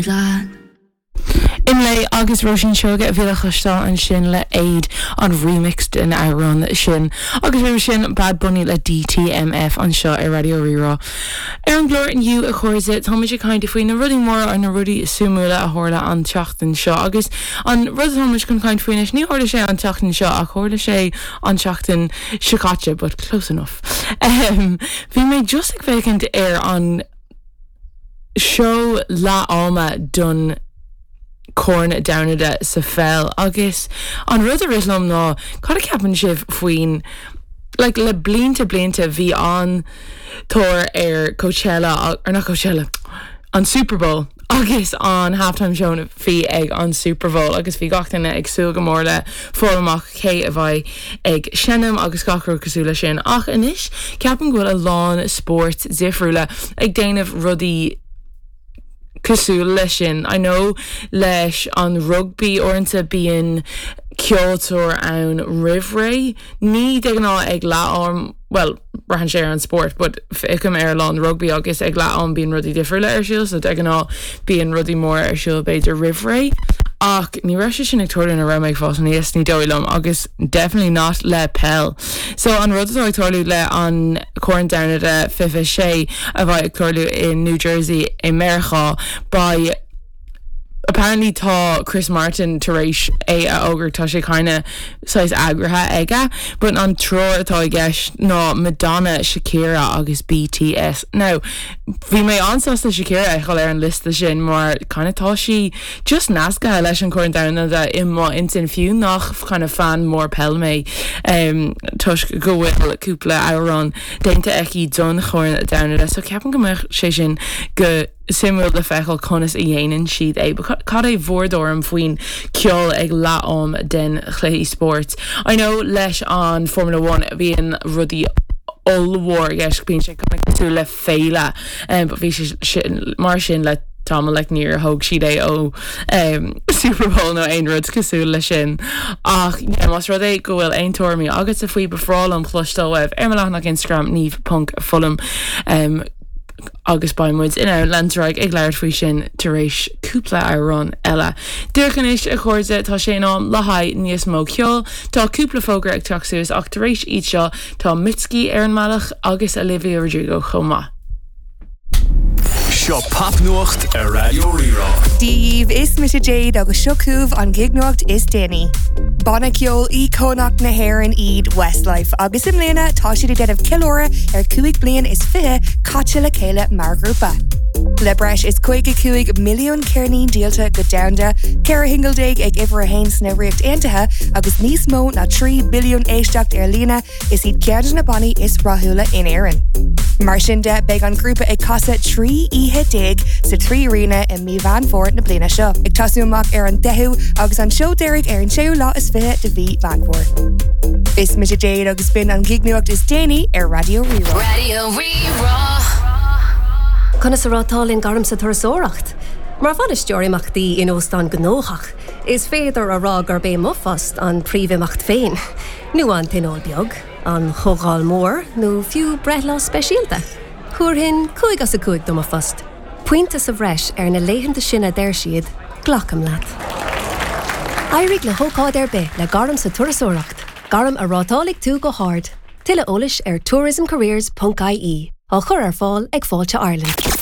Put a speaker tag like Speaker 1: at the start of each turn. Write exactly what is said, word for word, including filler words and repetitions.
Speaker 1: Leat.
Speaker 2: Imlé agus Róisín Seoige a bhí le cloisteáil ansin le Éad an remix den amhrán sin agus roimhe sin Bad Bunny le DTMF anseo ar Raidió Rí-Rá. Ar an gclár inniu a chairde táimid ag caint faoi na rudaí móra ar na rudaí suimiúla a tharla an tseachtain seo agus an rud atáimid chun caint faoi ní tharla sé an tseachtain seo ach tharla sé an tseachtain seo caite, but close enough. Um, bhí mé just ag féachaint ar an seó leath ama don Corn Domhanda sa pheil agus an rud a rith liom ná cad a cheapann sibh faoin like, le blianta blianta bhí an tóir ar Coachella ar nach Coachella an Super Bowl agus an halftime show bhí ag an Super Bowl agus bhí gach duine ag súil go mór le fáil amach cé a bheidh ag seinm agus gach rud cosúil leis sin ach anois ceapaim go bhfuil a lán spóirt difriúla ag déanamh rudaí cosúil leis sin. I know leis an rugby uaireanta bíonn ceoltóir ann roimh ré, ní de ghnáth ag leath am well braitheann sé ar an spórt, but feicim ar lá an rugby agus ag leath am bíonn rudaí difriúla ar siúl, so de ghnáth bíonn rudaí móra ar siúl b'fhéidir roimh ré. Ach ní raibh sé sin ag tarlú nuair a bhí mé ag fás aníos ní dóigh liom agus definitely not le peil. So an rud atá ag tarlú le an Corn Domhanda fiche sé a bheidh ag tarlú in New Jersey i Meiriceá beidh apparently tá Chris Martin tar éis é a fhógairt tá sé kinda saghas eagraithe aige, but an triúr atá i gceist ná Madonna, Shakira agus BTS. Now, bhí mé an-sásta Shakira a fheiceáil ar an liosta sin mar kinda tá sí just nasctha leis an Corn Domhanda i m'intinn fiú nach kind of fan mór peil mé um, toisc go bhfuil cúpla amhrán déanta aici don Chorn Domhanda, so ceapaim go mbeadh sé sin go suimiúil le feiceáil conas a dhéanann siad é, cad é bhur dtuairim faoin ceol ag leath am den chluichí spóirt. I know leis an Formula One bhíonn rudaí ollmhór gceist bíonn sé cosúil le féile um, but bhí sé mar sin le tamall like níor thóg siad é ó um, Super Bowl nó aon rud cosúil le sin. Ach yeah, más rud é go bhfuil aon tuairimí agat faoi ba bhreá liom cloisteáil uaibh ar mo leathanach Instagram Niamh ponc Fullam um, agus beidh muid in ann leanúint ag labhairt faoi sin tar éis cúpla amhrán eile. Díreach anois a chairde tá sé in am le haghaidh níos mó ceoil, Tá cúpla fógra ag teacht suas ach tar éis iad seo tá Mitski ar an mbealach agus Olivia Rodrigo chomh maith.
Speaker 3: Seo popnuacht ar Raidió Rí-Rá.
Speaker 4: Dia daoibh is mise Jade agus seo chugaibh an gignuacht is déanaí. Banna ceoil íocónach na hÉireann iad Westlife agus i mbliana tá siad ag déanamh ceiliúradh ar cúig bliain is fiche caite le chéile mar ghrúpa. Le breis is caoga cúig milliún ceirnín díolta go domhanda, ceithre shingil déag ag uimhir a haon sna Ríocht Aontaithe agus níos mó ná trí billiún éisteacht ar líne is iad ceann de na bannaí is rathúla in Éirinn. Mar sin de beidh an grúpa ag casadh trí oíche déag sa trí Arena i mí Mheán Fómhair na bliana seo. Ag tosú amach ar an deichiú agus an seó deiridh ar an séú lá is fiche de mhí Mheán Fómhair. Is mise Jade agus b'in an gignuacht is déanaí ar Raidió Rí-Rá.
Speaker 5: Raidió Rí-Rá.
Speaker 6: Conas a rátálann gairm sa turasóireacht. Mar bhainisteoir imeachtaí in óstán gnóthach, is féidir a rá gurb é mo phost an príomhimeacht féin. Nó an tionól beag, an chomhdháil mór nó fiú breithlá speisialta. Thabharfainn cúig as a cúig do mo phost. Pointe sa bhreis ar na laethanta sin a deir siad, glacaim leat. Éirigh le hócáid ar bith le gairm sa turasóireacht, gairm a rátálfaidh tú go hard. Tuilleadh eolais ar tourismcareers.ie á chur ar fáil ag Fáilte Ireland.